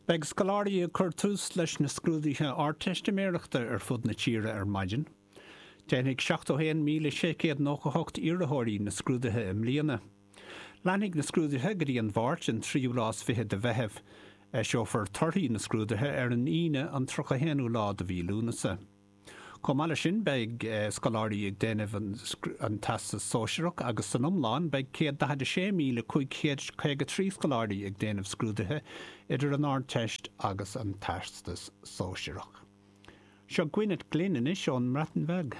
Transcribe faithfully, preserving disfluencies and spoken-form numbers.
Beidh scoláirí ag cur tús leis na scrúduithe Ardteistiméireachta ar fud na tíre ar maidin. Déanfaidh seachtó haon míle sé chéad nócha hocht iarrthóirí na scrúduithe i mbliana. Leanfaidh na scrúduithe go dtí an Mháirt an tríú lá is fiche de Mheitheamh. Eiseofar torthaí na scrúduithe ar an Aoine an tríocha haonú lá de mhí Lúnasa. Chomh maith leis sin beidh scoláirí ag déanamh an Teastas Sóisearach agus san iomlán beidh céad daichead a sé míle cúig chéad caoga trí scoláirí ag déanamh scrúduithe idir an Ardteist agus an Teastas Sóisearach. Seo Gwyneth Glyn anois ón mBreatain Bheag.